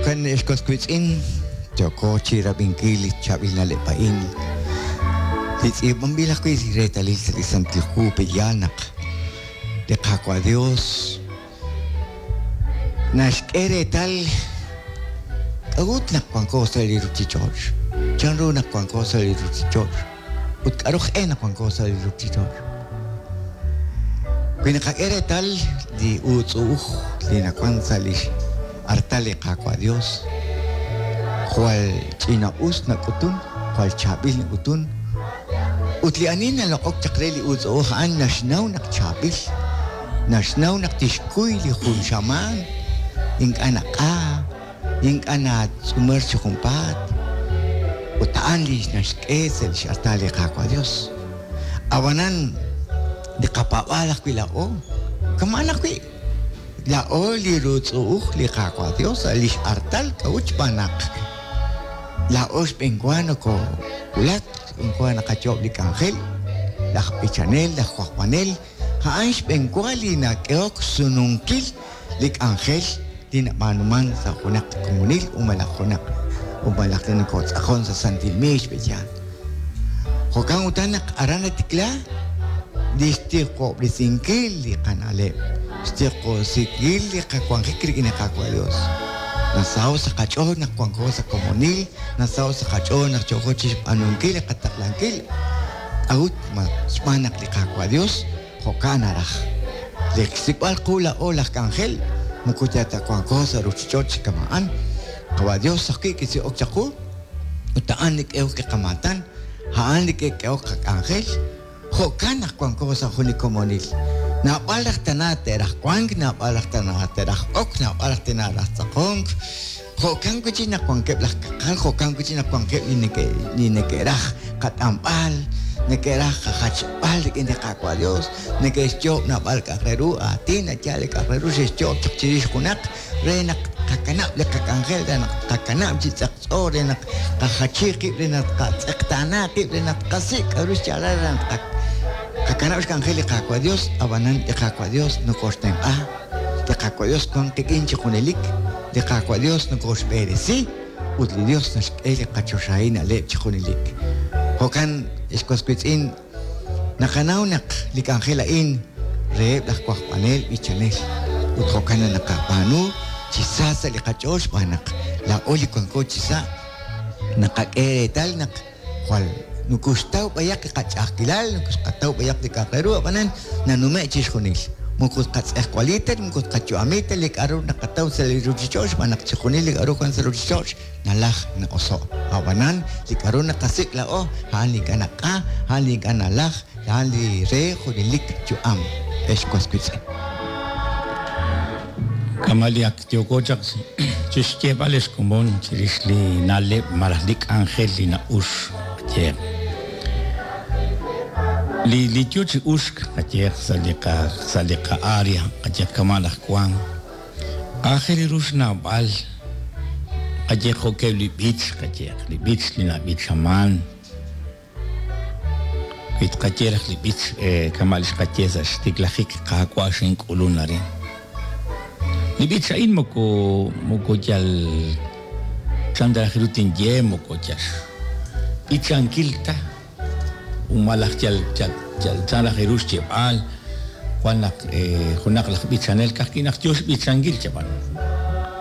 Jo'kan ex was wiitz'in, yooko chi rab'inkil li chaab'il na'leb' a'in li tz'iib'anb'il ajwi' li reetalil sa' li Santil Hu. Pe'yaal naq li Qaawa' Dios naxk'e reetal k'a'ut naq wanko sa' li ruchich'och', chanru naq wanko sa' li ruchich'och', ut k'a'ru aj-e naq wanko sa' li ruchich'och'. Wi naqak'e reetal li uutz'u'uj li nawan sa' lix artal li Qaawa' Dios, jwal ch'ina-us nak'utun, jwal chaab'il nak'utun, ut li ani naloq'ok chaq re li uutz'u'uj a'an naxnaw naq chaab'il, naxnaw naq tixkuy li jun xamaan, ink'a' naq'a, ink'a' natz'umer chi junpaat, ut a'an li naxk'e sa' lix artal li Qaawa' Dios. A'b'anan, li qapaab'aal ajwi' laa'o, kama'an ajwi', laa'o li rutz'u'uj li Qaawa' Dios sa' lix artal, k'a'ut? Xb'aan naq laa'o xb'een wa nokowulak, xb'een wa naqayoob' li k'anjel, laj b'ichanel, laj wajb'anel, a'an xb'een wa li nak'ehok sununkil li k'anjel li nab'aanuman sa' junaq komonil u malaj junaq u malaj li nokotz'aqon sa' santil miix b'eyaal. Jo'kan utan naq aran natikla li xtiqob'resinkil li qana'leb', xtiqob'resinkil li qawanjik rik'in li Qaawa' Dios. Nasaho' sa' qach'ool naq wanko sa' komonil, nasaho' sa' qach'ool naq yooko chixb'aanunkil li qataqlankil. K'a'ut? Ma xb'aan naq li Qaawa' Dios jo'kan naraj. Li xsik'b'al qu laa'o laj k'anjel moko yal ta wanko sa' ruchich'och' chi kama'an. Qawa' Dios ajwi' kisik'ok chaq qu, ut a'an li k'ehok li qamaatan, a'an li kik'ehok qak'anjel. Jo'kan naq wanko sa' jun li komonil. Naab'al raj tana te'raj wank, naab'al raj tana te'raj ok, naab'al raj tana raj tz'aqonk. Jo'kan wi' chik naq wankeb' laj kaqal, jo'kan wi' chik naq wankeb' li neke' li neke'raj qat'anb'al, neke'raj qajachb'al rik'in li Qaawa' Dios, neke'xyoob' naab'al k'a'aq re ru, aatin, yaal li k'a'aq re ru xe'xyoob' chaq chirix junaq re naq tqakanab' li qak'anjel, re naq tqakanab' chi tz'eqtz'o, re naq tqajachi qib', re naq tqatz'eqtaana qib', re naq tqasik' k'a'ru xyaalal re naq tqakanab' xk'anjel li Qaawa' Dios, ab'anan li Qaawa' Dios nokoxtenq'a. Li Qaawa' Dios wank qik'in chi junelik, li Qaawa' Dios nokoxb'eresi, ut li Dios naxk'e li qachoxahil na'leb' chi junelik. Jo'kan, ex was wiitz'in, naqanaw naq li k'anjel a'in reheb' laj wajb'anel b'ichanel, ut jo'kan naq naqab'aanu chi sa sa' li qach'ool xb'aan naq laa'o li wanko chi sa' naqak'e reetal naq Jwal nokoxtaw b'ayaq li qach'a'ajkilal, nokoxqataw b'ayaq li k'a'aq re ru, ab'anan nanume' chixjunil. Moko tqatz'ejwali ta, moko tqayu'ami ta li k'a'ru naqataw sa' li ruchich'och' xb'aan naq chixjunil li k'a'ru wan sa' ruchich'och' nalaj na'oso'. Ab'anan li k'a'ru naqasik' laa'o, a'an li ink'a' naq'a, a'an li ink'a' nalaj, a'an li re junelik yu'am, ex was wiitz'in. Kama' li ak Yooko chaq chixyeeb'al ex komon chirix li na'leb' malaj li k'anjel li na'ux, qayehaq. Li li yoo chi uxk, qayehaq, sa' li qa sa' li qa-área, qayehaq kama' laj Wan, aajel ru xnawb'al, qayehaq jo'keb' li b'ich, qayehaq, li b'ich li nab'ichaman, Wi tqaye raj li b'ich kama' li xqaye sa' xtiklajik, Qaawa' xink'ulun arin. Li b'ich a'in moko moko yal chan ta raj ru tinye moko yal xb'ichankil ta u malaj yal yal yal chan raj ru xyeeb'al wan naq junaq laj b'ichanel ka'ajwi' naq yoo xb'ichankil chab'an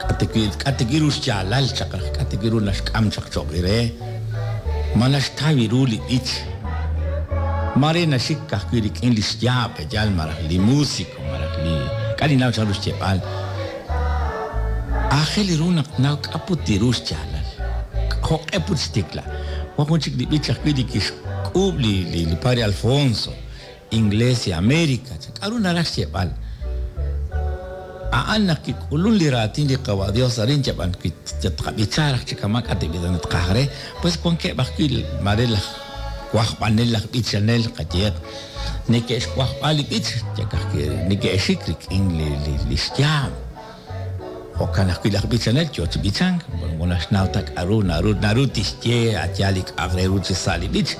k'a' ta wi' k'a' ta wi' ru xyaalal chaq raj k'a' ta wi' ru naxk'am chaq cho'q re. Ma naxtaw ru li b'ich? Maare naxik ka'ajwi' rik'in li xyaab' yal malaj li músico malaj li k'a' ninnaw chanru xyeeb'al. Aajel ru naq tnaw k'a' put ru xyaalal, jo'q'e put xtikla. Wan jun chik li b'ich ajwi' li kixk'uub' li li Padre Alfonso, Inglesia America, chan. K'a'ru naraj xyeeb'al? A'an naq kik'ulun li raatin li Qawa' Dios arin, chab'an wi tqab'icha raj chi kama' k'a' tib'ita tqaj re, pues wankeb' ajwi' maare laj wajb'anel, laj b'ichanel, qayehaq, neke'xwajb'a li b'ich, yak ajwi' neke'xik rik'in li li li xyaab'. Jo'kan ajwi' laj b'ichanel yoo chi b'ichank, moko naxnaw ta k'a'ru naru naru tixye a' yaal li k'a'aq re ru chi sa' li b'ich,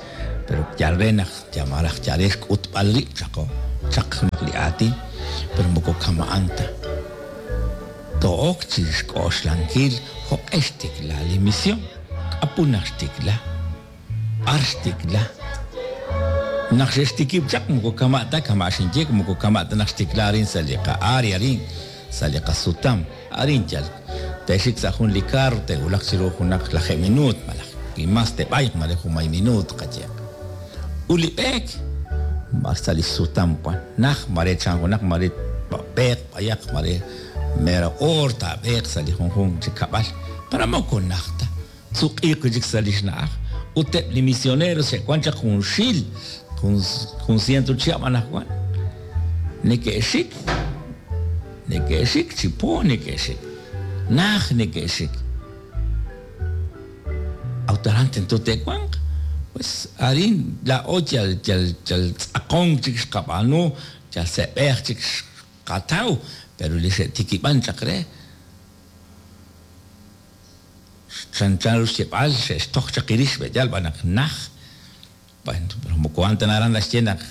pero yal re naq yal malaj yal re xk'utb'al rib' chaq chaq junaq li aatin, pero moko kama'an ta. Too'ok chi xk'oxlankil jo'q'e xtikla li mision, k'apu naq xtikla, b'ar xtikla. Naq xe'xtikib' chaq moko kama' ta kama' xinye moko kama' ta naq xtikla arin sa' li qa'área arin, sa' li qasutam, arin yal te'xik sa' jun li kaar te'wulaq chiru junaq lajeeb' minuut malaj wi mas te'b'ayq mare junmay minuut qayehaq. Ut li b'eek b'ar sa' li sutam wan, naj mare chan junaq mare b'eeq b'ayaq mare mero oor taab'eeq sa' li junjunq chi kab'al, pero moko naj ta, tsuq'iiq wi' chik sa' li xna'aj. Ut eb' li misioneros xe'wan chaq junxil, jun ciento chihab' anaqwan, neke'xik, neke'xik chi po neke'xik, naj neke'xik. A'ut aran tento te'wanq. Pues arin laa'o yal yal yal tz'aqonk chik xqab'aanu, yal se'b'ej chik xqataw, pero li xe'tikib'an chaq re, chanchan ru xyeeb'al xe'xtoj chaq qirix b'e'yal b'an naq naj, pero moko a'an ta naraj naxye naq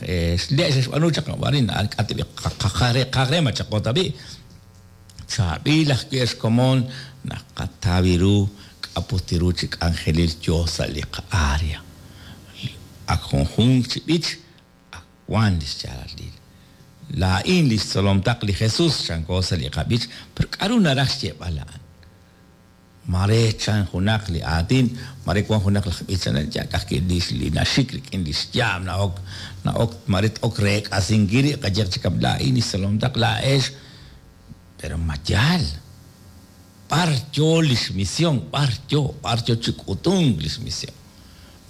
le' xe'xb'aanu chaq arin k'a' ta b'i' qaj qaj re ma chaqo ta b'i'. Chaab'il ajwi' ex komon naq qataw ru k'aput ru chi k'anjelil yoo sa' li qa'área. Ak junjunq chi b'ich ak wan lix yaalalil. Laa'in lix tzolom taq li Jesus chanko sa' li qab'ich, pero k'a'ru naraj xyeeb'al a'an? Mare chan junaq li aatin, mare wan junaq laj b'ichanel yal ka'ajwi' li li naxik rik'in li xyaab' na'ok na'ok mare t-ok reek'asinkil rib' qayehaq chi kam laa'in li xtzolom taq laa'ex, pero ma yaal? B'ar yoo li xmision? B'ar yoo? B'ar yoo chi k'utunk li xmision?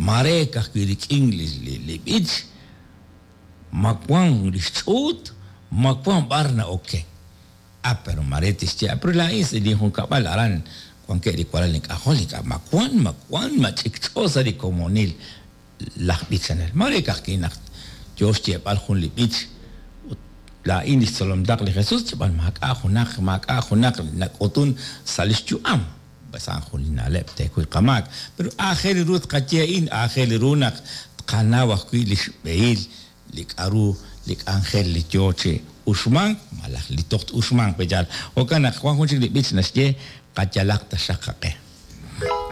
Mare ka'ajwi' rik'in li li b'ich, ma wan li xch'uut, ma wan b'ar na'oken? Ah, pero mare tixye, ah, pero laa'in sa' linjunkab'al aran wankeb' li walal ink'ajol, ink'a' ma wan, ma wan, ma ch'ikch'o sa' li komonil laj b'ichanel. Mare ka'ajwi' naq yoo xyeeb'al jun li b'ich ut laa'in lix tzolom taq li Jesus, chib'an maak'a' junaq, maak'a' junaq nak'utun sa' lix yu'am. Pues a'an jun li na'leb' teekuy qamaak. Pero aajel ru tqaye a'in, aajel ru naq tqanaw ajwi' lix b'ehil li k'a'ru li k'anjel li yoo chi uxmank malaj li toj t-uxmanq pe' yaal. Jo'kan naq wan jun chik li b'ich naxye, Qayalaq taxaq qaq'e.